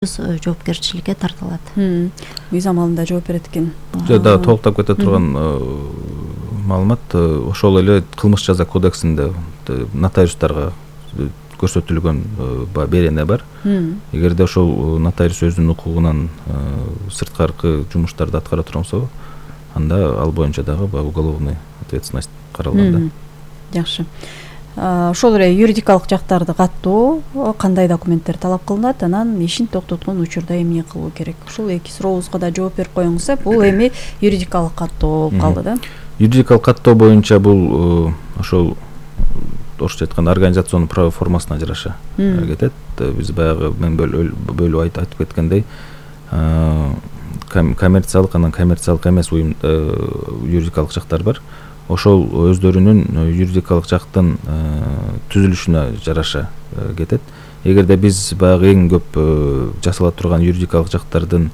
жоопкерчиликке тартылат. Биз амалында жооп берет экен. Да, толуктап кете турган маалымат ошол эле кылмыш жаза кодексинде нотариустарга көрсөтүлгөн берене бар. Эгерде ошол нотариус өзүнүн укугунан сырткаркы жумуштарды аткара турган болсо, анда ал боюнча дагы уголовный ответственность каралган. Жакшы. Ошол эле юридикалык жактарды каттоо кандай документтер талап кылынат, анан ишин токтоткон учурда эмне кылуу керек? Ушул эки сурообузга да жооп берип коюңуз. Бул эми юридикалык каттоо болуп калды да. Юридикалык каттоо боюнча бул ошол орусча айтканда организационный право формасына жараша кетет. Биз баягы мен бөлүп айтып кеткендей, коммерциялык анан коммерциялык эмес уюм юридикалык жактар бар. Ошол өздөрүнүн юридикалык жактын түзүлүшүнө жараша кетет. Эгерде биз баягы эң көп жасала турган юридикалык жактардын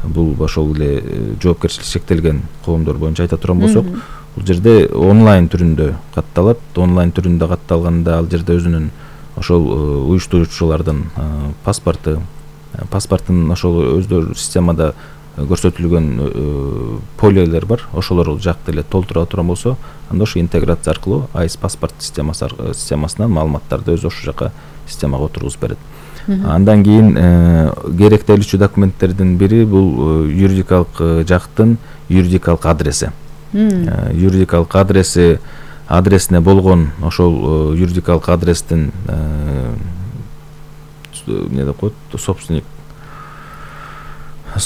бул ошол эле жоопкерчилик чектелген коомдор боюнча айта турган болсок, бул жерде онлайн түрүндө катталат. Онлайн түрүндө катталганда ал жерде өзүнүн ошол уюштуруучулардын паспорттун ошол өздөрү системада көрсөтүлгөн полелер бар. Ошолор жакты эле толтура турган болсо, анда ошо интеграция аркылуу АИС паспорт системасынан маалыматтарды өзү ошол жака системага отургузуп берет. Андан кийин керектелүүчү документтердин бири бул юридикалык жактын юридикалык адреси. Юридикалык адресине болгон ошол юридикалык адрестин эмне деп коет, собственник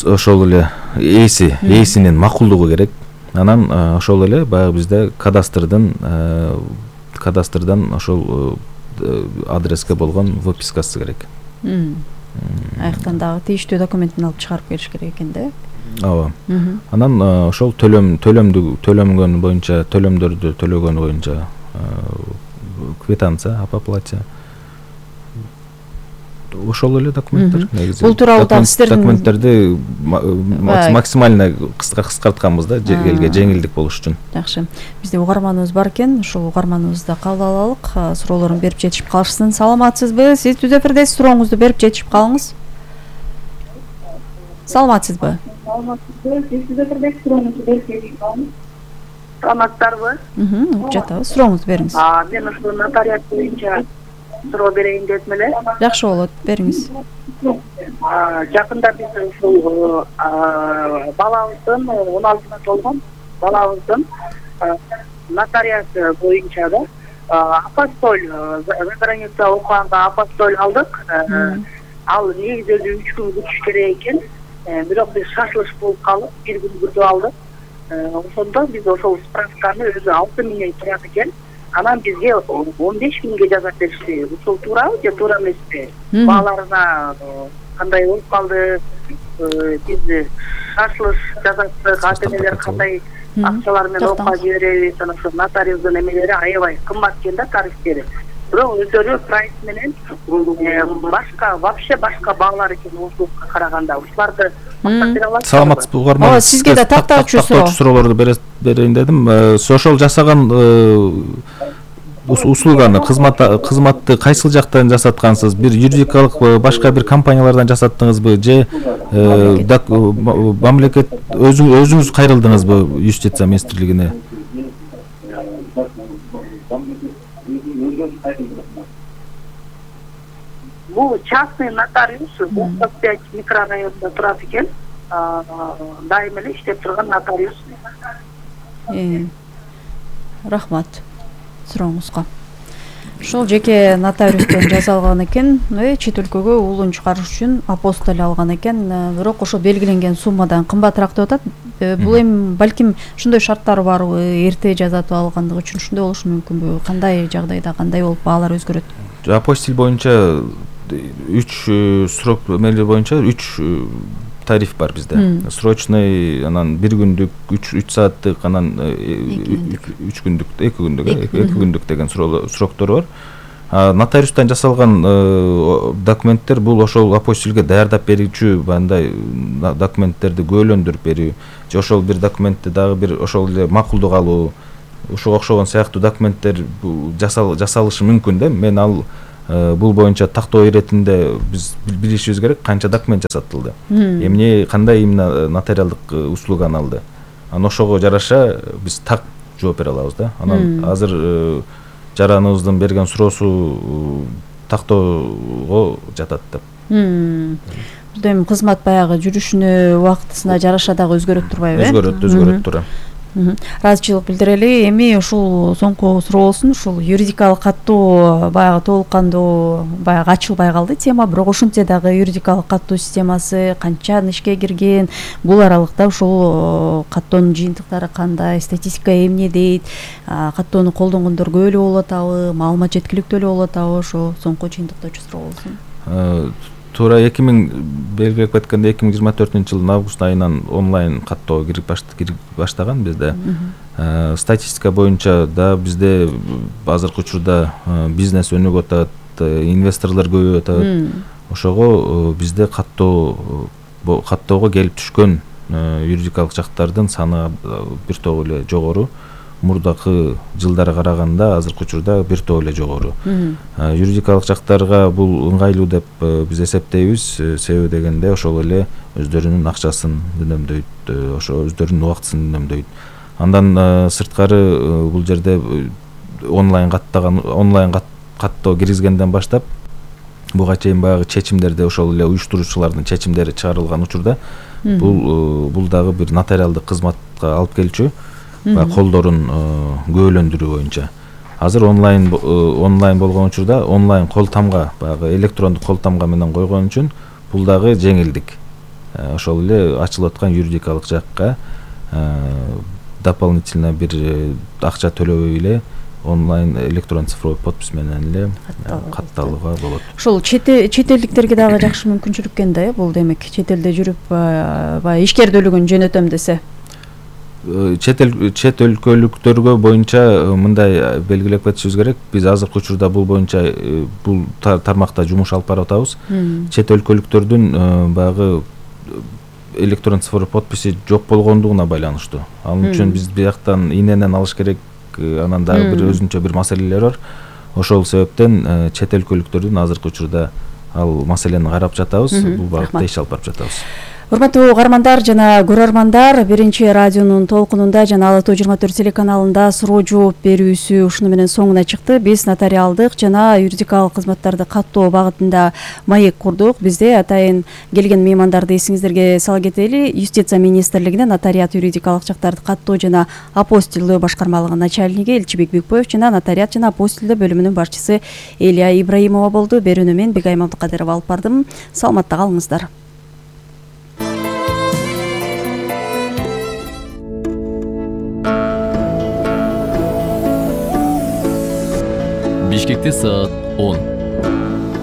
ошол эле ээсинин макулдугу керек. Анан ошол эле баягы бизде кадастрдан ошол адреске болгон выпискасы керек. Аяктан дагы тийиштүү документин алып чыгарып келиш керек экен да. Ооба. Анан ошол төлөмгөн боюнча, төлөмдөрдү төлөгөн боюнча квитанция об оплате. Ошол эле документтер негизи. Бул тууралуу да сиздердин документтерди максимально кыскартканбыз да, элге жеңилдик болуш үчүн. Жакшы. Бизде угарманыбыз бар экен, ошол угарманыбызды кабыл алалык. Суроолорун берип жетишип калышсын. Саламатсызбы? Сиз Түз эфирдесиз, сурооңузду берип жетишип калыңыз. Саламатсызбы? Сиз Түз эфирдесиз, сурооңузду берип жетишип калыңыз. Саламатсыздарбы? Угуп жатабыз. Сурооңузду бериңиз. Мен ушул нотариат боюнча суроо берейин дедим эле. Жакшы болот, бериңиз. Жакында биз ушул балабыздын 16 толгон балабыздын нотариат боюнча да апостоль за граница окуганга апостоль алдык. Ал негизи өзү 3 күн күтүш керек экен. Бирок биз шашылыш болуп калып 1 күн күтүп алдык. Ошондо биз ошол справканы өзү 6 миңге турат экен. Анан бизге 15 миңге жазап беришти. Ушул туурабы же туура эмеспи? Бааларына кандай болуп калды? Биз шашылыш жазаттык, ата-энелер кандай акчалар менен окуга жиберебиз? Анан ошо нотариустун эмелери аябай кымбат экен да, тарифтери. Бирок өздөрү прайс менен вообще башка баалар экен ушулукка караганда. Ушуларды мактап бере аласызбы? Саламатсызбы, угарман? Сизге да тактоочу суроолорду берейин дедим. Ошол жасаган услуганы, кызматты кайсыл жактан жасаткансыз? Бир юридикалык башка бир компаниялардан жасаттыңызбы же мамлекет өзүңүз кайрылдыңызбы юстиция министрлигине? Бул частный нотариус, 45 микрорайонунда турат экен. Дайым эле иштеп турган нотариус. Рахмат сурооңузга. Ошол жеке нотариустан жасалган экен, чет өлкөгө уулун чыгарыш үчүн апостоль алган экен, бирок ошо белгиленген суммадан кымбатыраак деп атат. Бул эми балким ошондой шарттары барбы, эрте жазатып алгандыгы үчүн ошондой болушу мүмкүнбү? Кандай жагдайда кандай болуп баалар өзгөрөт? Апостиль боюнча 3 срок эмели боюнча 3 тариф бар бизде. Срочный, анан 1 күндүк, 3 сааттык, анан 3 күндүк, 2 күндүк деген сроктор бар. Нотариустан жасалган документтер бул ошол апостилге даярдап берүүчү мындай документтерди көөлөндүрүп берүү же ошол бир документти дагы бир ошол эле макулдук алуу, ушуга окшогон сыяктуу документтер жасалышы мүмкүн да. Мен ал бул боюнча тактоо иретинде биз билишибиз керек канча документ жасатылды, эмне кандай именно нотариалдык услуганы алды. Анан ошого жараша биз так жооп бере алабыз да. Анан азыр жараныбыздын берген суроосу тактоого жатат деп. Бизде эми кызмат баягы жүрүшүнө, убактысына жараша дагы өзгөрөт турбайбы? Өзгөрөт тура. Ыраазычылык билдирели. Эми ушул соңку суроо болсун. Ушул юридикалык каттоо баягы толук кандуу баягы ачылбай калды тема, бирок ошентсе дагы юридикалык каттоо системасы канчаны ишке кирген, бул аралыкта ушул каттоонун жыйынтыктары кандай, статистика эмне дейт, каттоону колдонгондор көп эле болуп атабы, маалымат жеткиликтүү эле болуп атабы, ошо соңку жыйынтыктоочу суроо болсун. Туура белгилеп кеткендей 2024-жылдын август айынан онлайн каттоо кирип баштаган бизде. Статистика боюнча да бизде азыркы учурда бизнес өнүгүп атат, инвесторлор көбөйүп атат. Ошого бизде каттоого келип түшкөн юридикалык жактардын саны бир топ эле жогору. Мурдакы жылдары караганда азыркы учурда бир топ эле жогору. Юридикалык жактарга бул ыңгайлуу деп биз эсептейбиз. Себеби дегенде ошол эле өздөрүнүн акчасын үнөмдөйт, ошо өздөрүнүн убактысын үнөмдөйт. Андан сырткары бул жерде онлайн каттоо киргизгенден баштап буга чейин баягы чечимдерде ошол эле уюштуруучулардын чечимдери чыгарылган учурда бул дагы бир нотариалдык кызматка алып келчү. Колдорун көбөлөндүрүү боюнча. Азыр онлайн болгон учурда онлайн кол тамга, баягы электрондук кол тамга менен койгон үчүн бул дагы жеңилдик. Ошол эле ачылып аткан юридикалык жакка дополнительно бир акча төлөбөй эле онлайн электрон цифровой подпись менен эле катталууга болот. Ушул чет элдиктерге дагы жакшы мүмкүнчүлүк экен да, бул демек чет элде жүрүп баягы ишкердүүлүгүн жөнөтөм десе. Чет өлкөлүктөргө боюнча мындай белгилеп кетишибиз керек. Биз азыркы учурда бул боюнча бул тармакта жумуш алып барып атабыз. Чет өлкөлүктөрдүн баягы электрон цифровой подписи жок болгондугуна байланыштуу. Ал үчүн биз бияктан иненен алыш керек. Анан дагы бир өзүнчө бир маселелер бар. Ошол себептен чет өлкөлүктөрдүн азыркы учурда ал маселени карап жатабыз. Бул багытта иш алып барып жатабыз. Урматтуу угармандар жана көрөрмандар, биринчи радионун толкунунда жана Ала Тоо 24 телеканалында суроо жооп берүүсү ушуну менен соңуна чыкты. Биз нотариалдык жана юридикалык кызматтарды каттоо багытында маек курдук. Бизде атайын келген меймандарды эсиңиздерге сала кетели. Юстиция министрлигинин нотариат юридикалык жактарды каттоо жана апостилдөө башкармалыгынын начальниги Элчибек Бекбоев жана нотариат жана апостилдөө бөлүмүнүн башчысы Элия Ибраимова болду. Берүүнү мен Бегайым Абдыкадырова алып бардым. Саламатта калыңыздар. Бишкекте саат 10.